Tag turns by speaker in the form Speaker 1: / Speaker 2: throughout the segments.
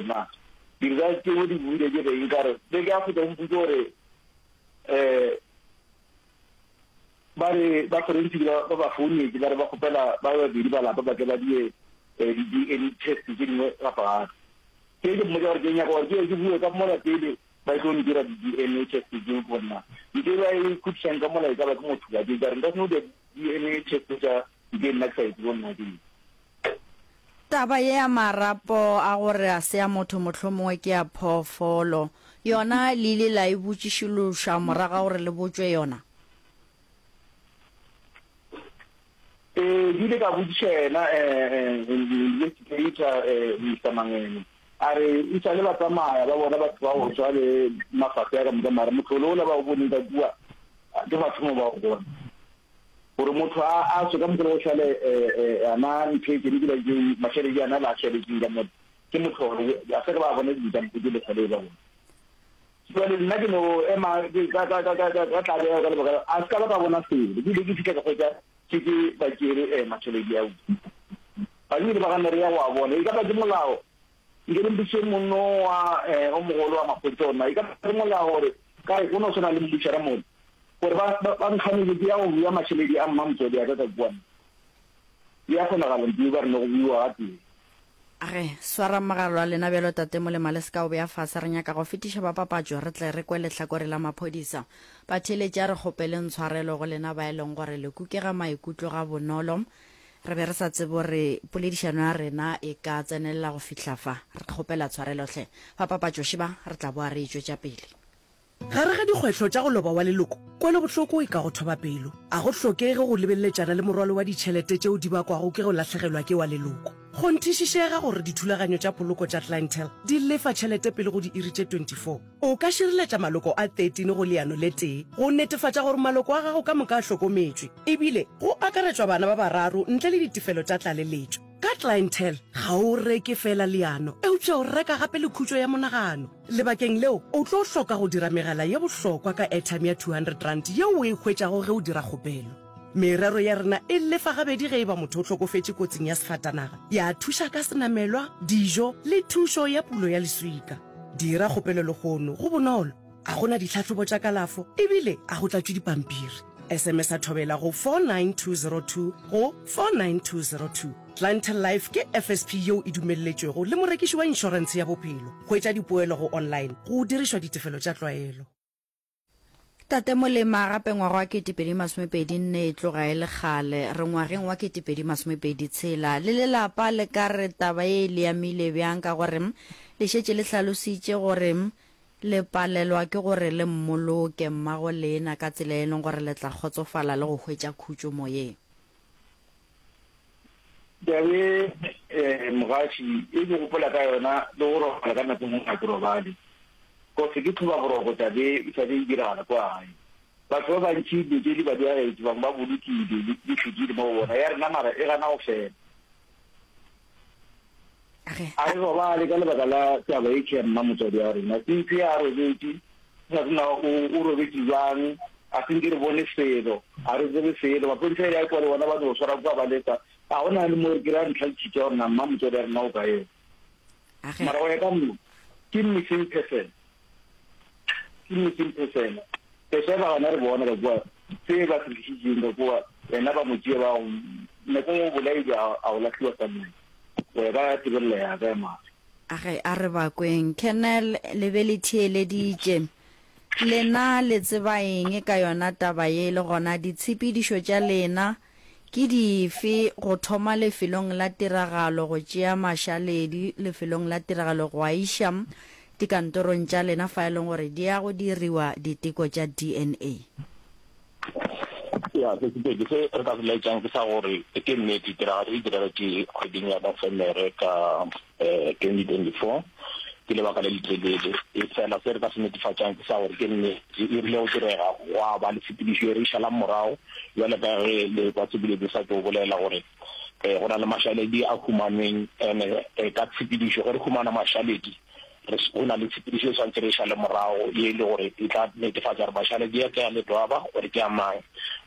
Speaker 1: gore na di-results tšeo di boile di reng ka re beke ya go feta o mpotše gore um ba re ba forensic ba ba ba founetše ba re ba kgopela ba babedi ba lapa ba tle ba die eh, di-DNA test tše dingwe gape gape. Ke ke mmotša gore ke nyaka gore ke ye ke bue ka mola pele ba tlo ntira di-DNA test tšeo ke gore na ntho e ba e khutišang ka mola e ka ba ke motho ka ke ka re nka se no dira di-DNA test tša ntho e nna ke sa e tsebe gore na ke eng.
Speaker 2: Taba ye ya marapo a gore a se a motho mohlomongwe ke a phoofolo, yona le ile la e botšišološa morago ga gore le botšwe yona?
Speaker 1: Ee, ke ile ka botšiša yena investigator Mister Mangene, a re e sa le ba tsamaya ba bona batho ba go swa le mafahlo ya ka moka, mara mohlolo ola ba o boneng ka kua ke mathomo ba o bona. Gore motho a a tswe ka mokgwa go šale ana ntho e tsene ke ba mašaledi ana ba šaletseng ka mo ke mohlolo, a se ke ba bona dilo tsa mohuta le sale ba bona. Jwale nna ke no ema ka ka ka ka ka tlabego ka lebaka a se ka ba ka bona selo. Ke ile ke fihla ka hwetša šetše ba tšere eh, mašaledi ao. Ba ile ba gana re ya go a bona. E ka ba ke molao. Nke le mpotšiše monno wa eh, o mogolo wa maphodisa gore na e ka ba ke molao gore ka re go no swana le mmušara mo gore ba ba ba nkganetše ke ya go bua mašaledi a mmamotswadi a ka ka kua. E a kgonagala ntlo ba re no go buiwa gatee.
Speaker 2: A re, Swarang mogala wa lena bjalo, Tate Molema, le se ka o bea fase. Re nyaka go fetiša ba papatšo, re tle re kwe lehlakore la maphodisa. Batheeletši, a re kgopeleng tshwarelo go lena ba e leng gore le kukega maikutlo gabonolo. Re be re sa tsebe gore poledišano ya rena e ka tsenelela go fihla fa. Re kgopela tshwarelo hle. Ba papatšo šeba, re tla boa re e tšwetša pele.
Speaker 3: Gare ga dikgwehlo tša go loba wa leloko, kwelobohloko e ka go thoba pelo. A go hlokege go lebeleletšana le morwalo wa ditšhelete tšeo di bakwago ke go lahlegelwa ke wa leloko. Kgonthišišega gore dithulaganyo tša poloko tša Clientele di lefa tšhelete pele go diiri tše 24. O ka šireletša maloko a 13 go leano le tee go netefatša gore maloko a gago ka moka a hlokometšwe, ebile go akaretšwa bana ba bararo ntle le ditefelo tša tlaleletšo. Ka Clientele, ga o reke feela leano, eupša o reka gape le khutšo ya monagano. Lebakeng leo, o tlo hloka go dira megala ye bohlokwa ka airtime ya R200 yeo o e hwetšago ge o dira kgopelo. Merero ya rena e lefa gabedi ge e ba motho o hlokofetše kotsing ya sefatanaga, ya thuša ka senamelwa, dijo le thušo ya pulo ya leswika. Dira kgopelo lehono, go bonolo, ga go na ditlhahlobo tša kalafo ebile ga go tlatšwe dipampiri. SMS-a Thobela go 49202 go 49202. Clientele Life ke FSP yeo e dumelletšwego le morekiši wa inšorentshe ya bophelo. Hwetša dipoelo go online go dirišwa ditefelo tša tlwaelo.
Speaker 2: Tate Molema, gape ngwaga wa 2024 e tloga e le kgale. Re ngwageng wa 2026. Le le lapa le ka re taba ye e le amile bjang ka gore le šetše le hlalositše gore le palelwa ke gore le mmoloke mmago lena ka tsela e leng gore le tla kgotsofala le go hwetša khutšo moyeng?
Speaker 1: Taba e mogaši e ke gopola ka yona le go robala ka nako nngwe ga ke robale cause ke tlhoba boroko taba e e sa be e diragala kwa gae. Batho ba bantši dilo tše di ba diagetše bangwe ba bolokile di fetile mo go bona ya rena mara e gana go fela. A re robale ka lebaka la taba e ya mma motswadi wa rena. Since a robetše, re sa tsebe o robetše bjang, a se nke re bone selo, ga re tsebe selo. Maphodisa a ile a kwa le bona ba no swara kua ba lesa. Ga go na le mo re kry-a ntlha le tšhitša gore na mma motswadi wa rena o kae. Mara go ya ka nna, ke missing person. Ke missing person. That's why ba gana re bona ka kua se ba se tlišitšeng ka kua, yena ba mo tšea ba nako o bolailwe a o lahliwa somewhere. Go ya ka tebelelo ya ka ya mahlo.
Speaker 2: Age, a re bakweng. Colonel, le be le theeleditše. Lena le tseba eng ka yona taba ye, le gona ditshepedišo tša lena ke dife go thoma lefelong la tiragalo go tšea mašaledi lefelong la tiragalo go a iša dikantorong tša lena fa e leng gore di ya go diriwa diteko tša DNA?
Speaker 4: Ya, se Sepedi, se re ka se laetšang ke sa gore ke nnete tiragalo e diragetše kgweding ya Nofemere ka 2024, ke lebaka le letelele. Efela se re ka se netefatšang ke sa gore ke nnete e rile go direga gwa ba le tshepedišo e re e šalang morago, bjale ka ge le kwa Sepedi sa tšo bolela gore go na le mašaledi a humanweng ene ka tshepedišo ge re humana mašaledi Re, go na le tshepedišo e swanetše re e šale morago ye e le gore e tla netefatša gore mašaledi a ke a Ledwaba gore ke a mang,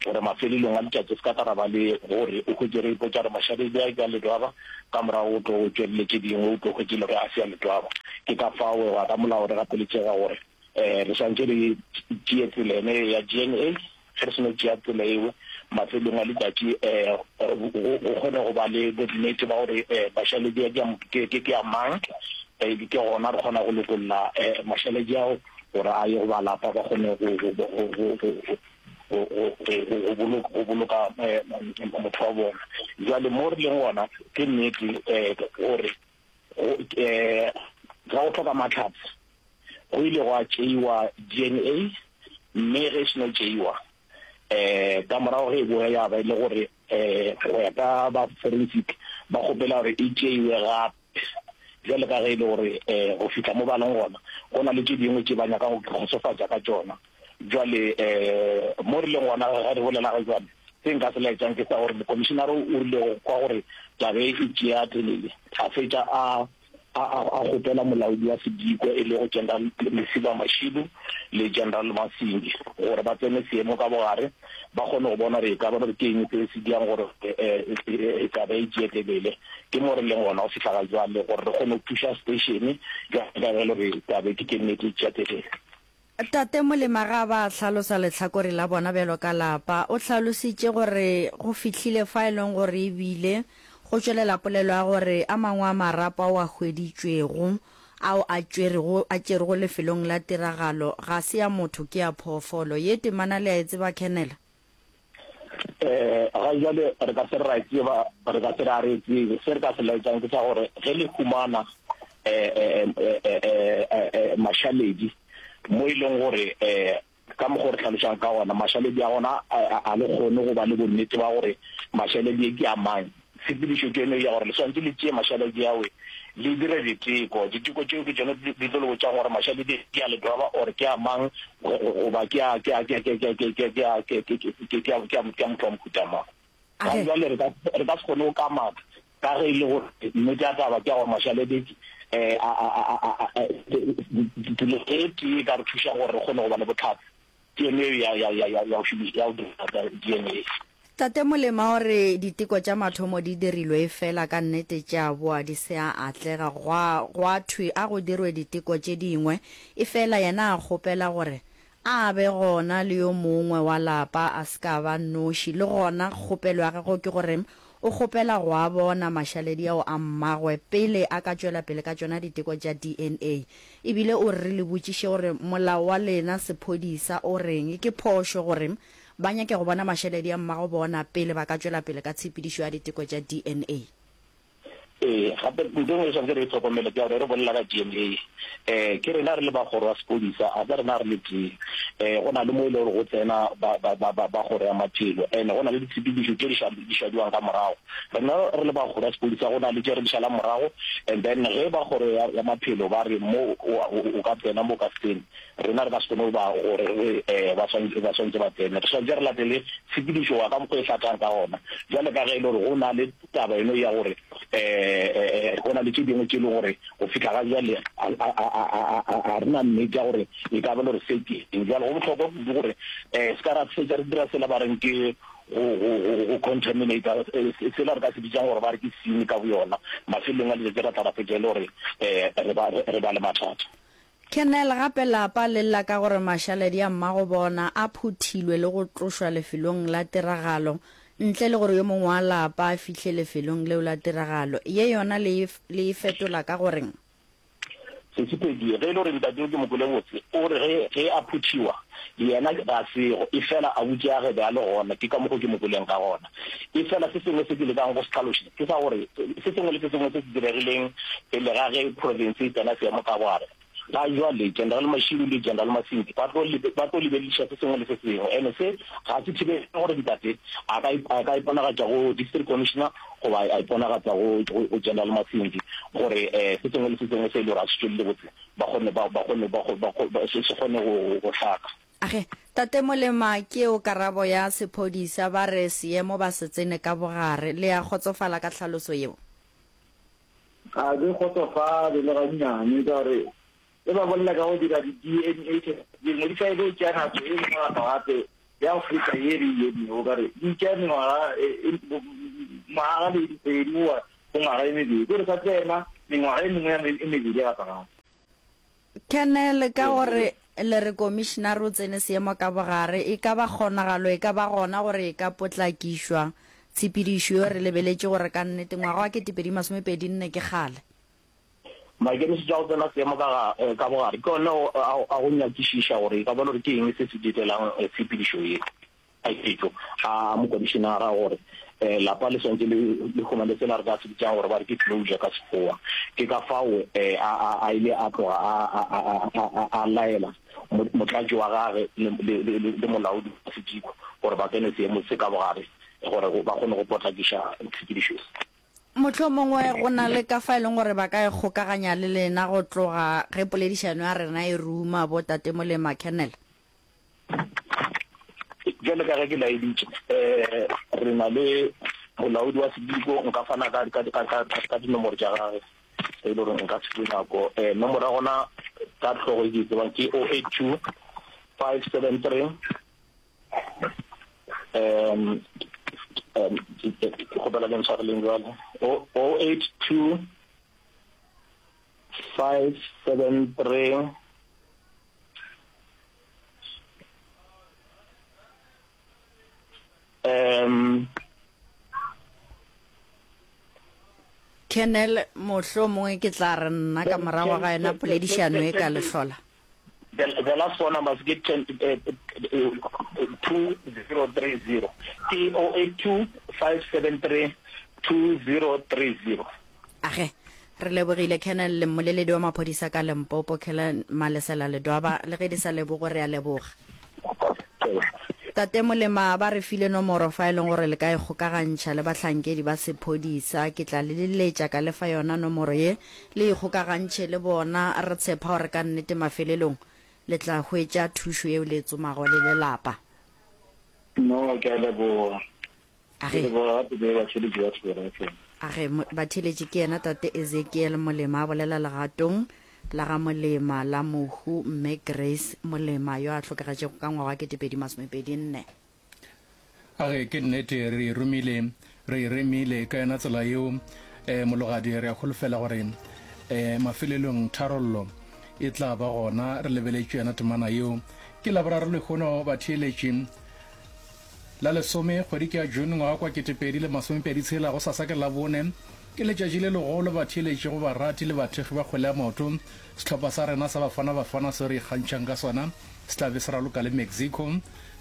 Speaker 4: gore mafelelong a letšatši se ka tla ra ba le gore o hwetše re ipotša gore mašaledi a ke a Ledwaba, ka morago o tlo tšwelele tše dingwe o tlo hwetše le gore a se a Ledwaba. Ke ka fao go ya ka molao re gapeletšega gore re swanetše re tšee tsela ene ya DNA. Ge re seno tšea tsela eo, mafelong a letšatši go kgone go ba le bonnete ba gore mašaledi a ke a mang, ke gona re kgona go lokolla mašaledi ao gore a ye go ba lapa ba kgone go boloka motho wa bona. Bjale mo re leng gona ke nnete gore ga go hloka mahlatse go ile gwa tšeiwa DNA mme ge e seno tšeiwa ka morago ge e boya ya ba e le gore go ya ka ba forensic ba kgopela gore e tšeiwe gape bjale ka ge e le gore go fihla mo ba leng gona go na le tše dingwe tše ba nyakang go kgotsofatša ka tšona. Bjale mo re leng gona ge re bolela ga jwale se nka se laetšang ke sa gore mokomišenare o rile go kwa gore taba e e tšea telele a fetša a a a kgopela molaodi wa sediko e lego General Lesiba Mashilu le General Masingi gore ba tsene seemo ka bogare ba kgone go bona gore e ka ba gore ke eng se se diang gore e taba e tšee telele. Ke mo re leng gona go fihla ga jwale gore re kgone go thuša station bjale ka ge e le gore taba e ke nnete e tšea telele.
Speaker 2: Tate Molema ga a ba a hlalosa lehlakore la bona bjalo ka lapa. O hlalositše gore go fihlile fa e leng gore e bile go tšwelela polelo ya gore a mangwe a marapo ao a hweditšwego ao a tšwerego a tšerwego lefelong la tiragalo ga se a motho ke a phoofolo. Ye temana le a e tseba Colonel?
Speaker 4: Um ga jwale re ka se re ra e tseba, re ka se re a re e tsebe. Se re ka se laetšang ke sa gore ge le humana um mašaledi mo e leng gore um ka mokgwa o re hlalošang ka gona mašaledi a gona a le kgone go ba le bonnete ba gore mašaledi e ke a mang. Tshepedišo ke yone ya gore le swanetše le tšee mašaledi awe le dire diteko. Diteko tšeo ke tšona di tlo le botšang gore mašaledi ke a ledwaba or ke a mang goba ke a ke a ke a ke a ke a ke a ke a ke a ke a ke a motho wa mohuta mang. Ga jwale re ka re ka se kgone go kamaka ka ge e le gore nnete ya taba ke ya gore mašaledi um a a a a tsela e tee e ka re thušang gore re kgone go ba le bohlatse ke yone eo ya ya ya ya go šomiša ya go dira D_N_A.
Speaker 2: Tate Molema o re diteko tša mathomo di dirilwe efela ka nnete tša boa di se a atlega gwa gwa thwe a go dirwe diteko tše dingwe efela yena a kgopela gore a be gona le yo mongwe wa lapa a se ka ba noši le gona kgopelo ya gagwe ke gore o kgopela go a bona mašaledi ao a mmagwe pele a ka tšwela pele ka tšona diteko tša DNA ebile o re re le botšiše gore molao wa lena sephodisa o reng ke phošo gore Ba nyake go bona mašaledi a mmago bona pele ba ka tšwela pele ka tshepedišo ya diteko tša DNA.
Speaker 4: Ee, gape ntho e nngwe e swanetše re e hlokomele ke ya gore re bolela ka DNA, um ke rena re le ba kgoro ya sepodisa, ga se rena re le tee. Um go na le mo e le gore go tsena ba, ba, ba, ba, ba kgoro ya maphelo, and go na le ditshepedišo tše di ša, di šadiwang ka morago. Rena re le ba kgoro ya sepodisa go na le tše re di šalang morago, and then ge ba kgoro ya, ya maphelo ba re mo o, o, o ka tsena mo o ka se tsene, Rena re ka se kgone go ba gore re re ba swanetše ba swanetše ba tsene. Re swanetše re latele tshepedišo wa ka mokgwa e hlathang ka gona. Bjale ka ge e le gore go na le taba eno ya gore go na le tše dingwe tše e le gore go fihla ga bjale a re na nnete ya gore e ka ba le gore se ke eng. Bjale go bohlokwa kudu gore se ka ra fetša re dira sela ba reng ke go go go contaminate sela re ka se bitsang gore ba re ke scene ka boyona. Mafelelong a letšatši ra tla ra fetša e le gore re ba re ba le mathata.
Speaker 2: Kennel gape lapa le lla ka gore mašaledi a mmagobona a phuthilwe le go tlošwa lefelong la tiragalo ntle le gore yo mongwe wa lapa a fihle lefelong leo la tiragalo. Ye yona le le e fetola ka goreng?
Speaker 4: Sesipedi, Ge e le gore ntate yo ke mo kwele botse, o re ge ge a phuthiwa yena ga sego, efela abuti ya ge be a le gona, ke ka mokgo ke mo kweleng ka gona. Efela se sengwe se ke lekang go se hlaloša ke sa gore se sengwe le se sengwe se se diregileng pele ga ge profense e tsena seemo ka bogare, ga jwale General Mashilu le General Masinti ba tlo ba tlo lebelediša se sengwe le se sengwe. Ene se ga se thibele gore ntate a ka a ka iponagatša go District Commissioner goba a iponagatša go go General Masinti gore se sengwe le se sengwe se e le gore a se tšwelele botse ba kgone ba ba kgone ba ba se kgone go go hlaka.
Speaker 2: Age, Tate Molema, ke eo karabo ya sephodisa, ba re seemo ba se tsene ka bogare. Le a kgotsofala ka tlhaloso yeo?
Speaker 1: Ga ke kgotsofale le gannyane ka gore ge ba bolela ka go dira di-DNA test dingwe di tla be tšea nako e nngwe gape gape ya go feta ye re e emego o kare di tšea mengwaga ngwaga le dikgwedi goba go ngwaga e mebedi, kore sa tsena mengwaga e mengwe e mebedi gape gape.
Speaker 2: Colonel, ka gore le re komišinare o tsene seemo ka bogare, e ka ba kgonagalo e ka ba gona gore e ka potlakišwa tshepedišo yo re lebeletše gore ka nnete ngwaga wa 2024 ke kgale?
Speaker 4: Maikemišetšo a go tsena seemo ka ga ka bogare ke ona a go nyakišiša gore e ka ba le gore ke eng se se dietelang tshepedišo ye. Maiketšo a mokomišenara gore lapa le swanetše le le humane sela re ka se bitšang gore ba re ke closure ka Sekgowa. Ke ka fao a a a ile a tloga a a a a a a laela motlatši wa gage le le le le molaodi wa sediko gore ba tsene seemo se ka bogare gore ba kgone go potlakiša tshepedišo ye.
Speaker 2: Mohlomongwe go na le ka fa e leng gore ba ka ikgokaganya le lena go tloga ge poledišano ya rena e ruma, bo Tate Molema, Colonel.
Speaker 4: Bjale ka ge ke laeditše, re na le molaodi wa sediko, nka fana ka, ka, ka, ka, ka dinomoro tša gage e le gore nka se fiwe nako. Nomoro ya gona ka hlogo e ke e tsebang ke 082 573 um, um, ke kgopela le ntshwareleng jwale 082 573 Um,
Speaker 2: Colonel, mohlomongwe ke tla re nna ka morago ga yona poledišano e ka le hlola.
Speaker 4: The, the last four numbers ke 10, eh, eh, 2030. Ke 082 573 2030.
Speaker 2: Age, re lebogile Colonel le mmoleledi wa maphodisa ka Limpopo, Colonel Malesela Ledwaba, le ge di sa lebogo re a leboga. Tate Molema ba re file nomoro fa e leng gore le ka ikgokagantšha le bahlankedi ba sephodisa. Ke tla le leletša ka le fa yona nomoro ye, le ikgokagantšhe le bona. Re tshepa gore ka nnete mafelelong le tla hwetša thušo yeo le e tsomago le le lapa.
Speaker 1: No, ke a leboga.
Speaker 2: A ge.
Speaker 1: Ke leboga gape le batheeletši ba Thobela FM.
Speaker 2: A ge, batheeletši ke yena Tate Ezekiel Molema a bolela legatong la ga Molema la mohu Mme Grace Molema yo a hlokagetšego ka ngwaga wa 2024.
Speaker 5: A ge, ke nnete re e romile, re e remile ka yona tsela yeo, eh, Mologadi, re a holofela gore, eh, mafelelong tharollo e tla ba gona. Re lebeletše yona temana yeo. Ke Laboraro lehono, batheeletši. La lesome, kgwedi ke ya June ngwaga kwa 2026, gosasa ke Labone, ke letšatši le legolo batheeletši go barati le bathekgi ba kgwele ya maoto. Sehlopha sa rena sa Bafana Bafana seo re ikgantšhang ka sona se tla be se raloka le Mexico.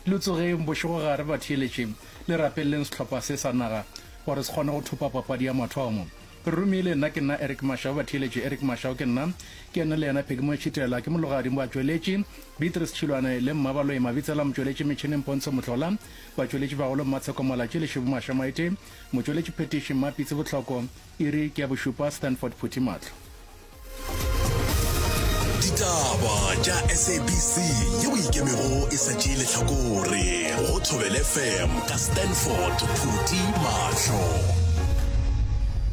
Speaker 5: Le tsogeng bošegogare batheeletši, le rapeleleng sehlopha se sa naga gore se kgone go thopa papadi ya mathomo. Re romile, nna ke nna Eric Mashau, batheeletši Eric Mashau ke nna, ke ene le yena Peggy Moetšhitela, ke Mologadi Moatšweletši, Beatrice Tšhilwane le Mmabaloi Mabitsela, motšweletši metšhineng Pontsho Mohlola, batšweletši bagolo Mmatsheko Malatši le Šibu Mašamaite, motšweletši phetiši Mmapitsi Bohloko, iri ke ya bošupa, Stanford Phuthi Mahlo.
Speaker 6: Ditaba tša SABC yeo e ikemego e sa tšee lehlakore go Thobela FM ka Stanford Phuti Mahlo.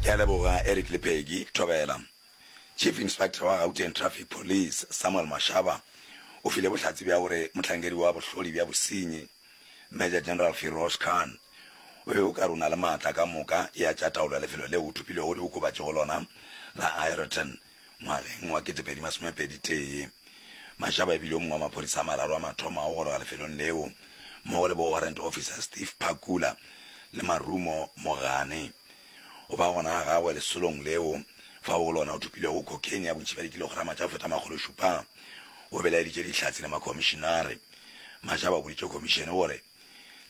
Speaker 7: Ke a leboga Eric le Peggy. Thobela. Chief Inspector wa Gauteng Traffic Police, Samuel Mashaba, o file bohlatse bja gore mohlankedi wa bohlodi bja bosenyi, Major General Firoz Khan, o be o ka re o na le maatla ka moka ya tša taolo ya lefelo leo o thopilwego diokobatši go lona la Aeroton ngwageng wa 2021. Mashaba e bile o mongwe wa maphodisa a mararo a mathomo a go goroga lefelong leo, mmogo le bo Warrant Officer Steve Phakula le Marumo Mogane. Go ba gona ga gagwe lesolong leo fao go lona o thopilwego cocaine ya bontši bja dikilograma tša go feta makgološupa, o belaeditše dihlatse le makhomišinare. Mashaba o boditše khomišene gore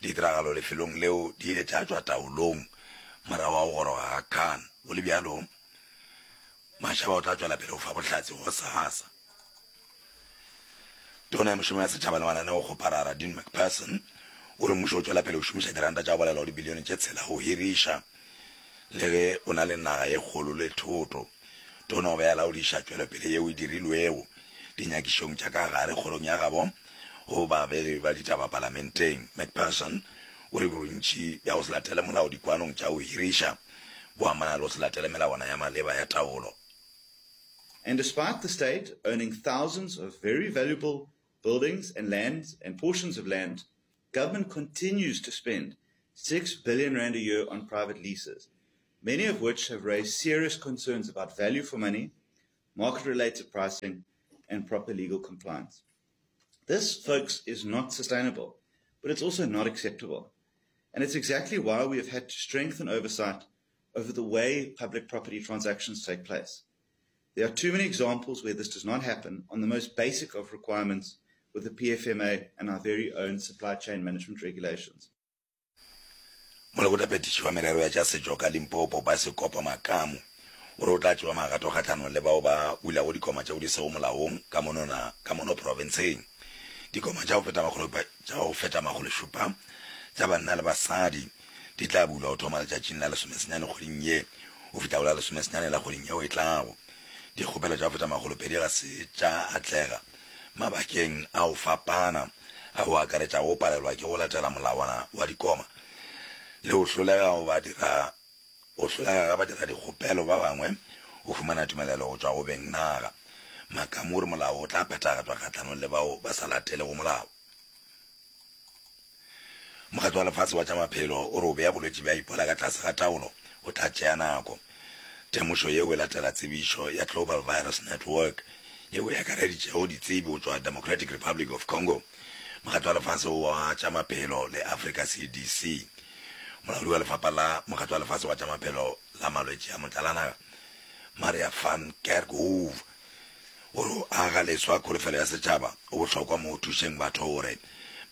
Speaker 7: Ditiragalo lefelong leo di ile tša tšwa taolong morago ga go goroga ga Khan. Go le bjalo, Mashaba o tla tšwela pele go fa bohlatse gosasa. Tona ya Mešomo ya Setšhaba le Mananeokgoparara, Dean Macpherson, o re mmušo o tšwela pele go šomiša diranta tša go balelwa go dibilione tše tshela go hiriša le ge o na le naga ye kgolo le thoto. Tona o be a laodiša tšwelopele yeo e dirilwego dinyakišong tša ka gare kgorong ya gabo go babegi ba ditaba palamenteng. Macpherson o re bontši bja go se latele molao dikwanong tša go hiriša bo amana le go se latele melawana ya maleba ya taolo.
Speaker 8: And despite the state owning thousands of very valuable buildings and lands and portions of land, government continues to spend 6 billion rand a year on private leases, many of which have raised serious concerns about value for money, market-related pricing, and proper legal compliance. This, folks, is not sustainable, but it's also not acceptable. And it's exactly why we have had to strengthen oversight over the way public property transactions take place. There are too many examples where this does not happen on the most basic of requirements with the PFMA and our very own supply chain management regulations.
Speaker 7: Molekgotlaphethiši wa merero ya tša setšo ka Limpopo, Basekopo Makamu, o re o tla tšewa magato kgahlanong le bao ba bulago dikoma tšeo di sego molaong ka monona ka mono profenseng. Dikoma tša go feta makgolo tša go feta makgološupa tša banna le basadi di tla bulwa go thoma letšatšing la lesomesenyane kgweding ye go fihla go la lesomesenyane la kgweding yeo e tlago. Dikgopelo tša go feta makgolopedi ga se tša atlega mabakeng a go fapana a go akaretša go palelwa ke go latela molawana wa dikoma le go hlolega go ba dira go hlolega ga badiradikgopelo ba bangwe go humana tumelelo go tšwa go beng naga. Makamu o re molao o tla phethagatšwa kgahlanong le bao ba sa latelego molao. Mokgatlo wa Lefase wa tša Maphelo o re o bea bolwetši bja Ebola ka tlase ga taolo go tla tšea nako. Temošo yeo e latela tsebišo ya Global Virus Network yeo e akareditšego ditsebi go tšwa Democratic Republic of Congo, Mokgatlo wa Lefase wa tša Maphelo le Afrika CDC. Molaodi wa lefapha la Mokgatlo wa Lefase wa tša Maphelo la Malwetši a Motlalanaga, Maria Van Kerkhove, O re go aga leswa kholofelo ya setšhaba go bohlokwa mo go thušeng batho gore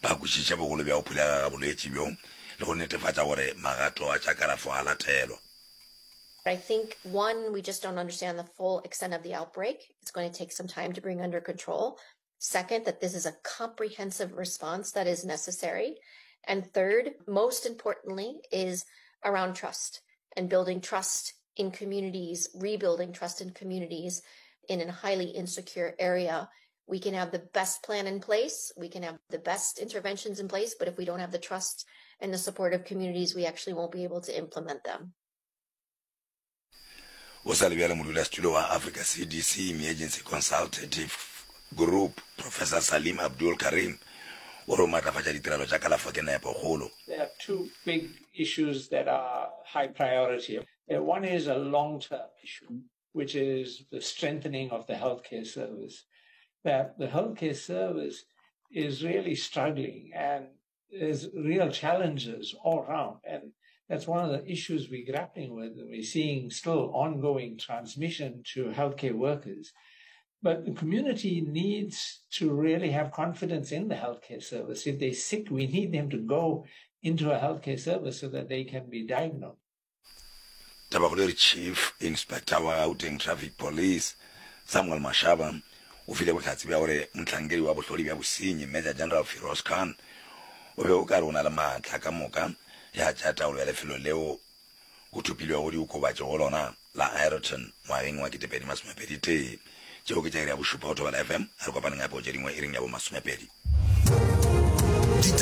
Speaker 7: ba kwešiše bogolo bja go phulega ga bolwetši bjo le go netefatša gore magato a tša kalafo a latelwa.
Speaker 9: I think, one, we just don't understand the full extent of the outbreak. It's going to take some time to bring under control. Second, that this is a comprehensive response that is necessary. And third, most importantly, is around trust and building trust in communities, rebuilding trust in communities in a highly insecure area. We can have the best plan in place, we can have the best interventions in place, but if we don't have the trust and the support of communities, we actually won't be able to implement them.
Speaker 7: O sa le bjale modulasetulo wa Africa CDC Emergency Consultative Group, Professor Salim Abdool Karim, o re go matlafatša ditirelo tša kalafo ke nepokgolo.
Speaker 10: There are two big issues that are high priority. One is a long-term issue, which is the strengthening of the healthcare service. That the healthcare service is really struggling and there's real challenges all around. And that's one of the issues we're grappling with. And we're seeing still ongoing transmission to healthcare workers. But the community needs to really have confidence in the healthcare service. If they're sick, we need them to go into a healthcare service so that they can be diagnosed.
Speaker 7: Tabakgolo e re Chief Inspector wa Gauteng Traffic Police, Samuel Mashaba, o file bohlatse bja gore mohlankedi wa bohlodi bja bosenyi, Major General Firoz Khan, o be o ka re o na le maatla ka moka ya tša taolo ya lefelo leo go thopilwego diokobatši go lona la Aeroton ngwageng wa 2021. Tšeo ke tša iri ya bošupa go Thobela FM. A re kopaneng gape go tše dingwe iring ya bomasomepedi.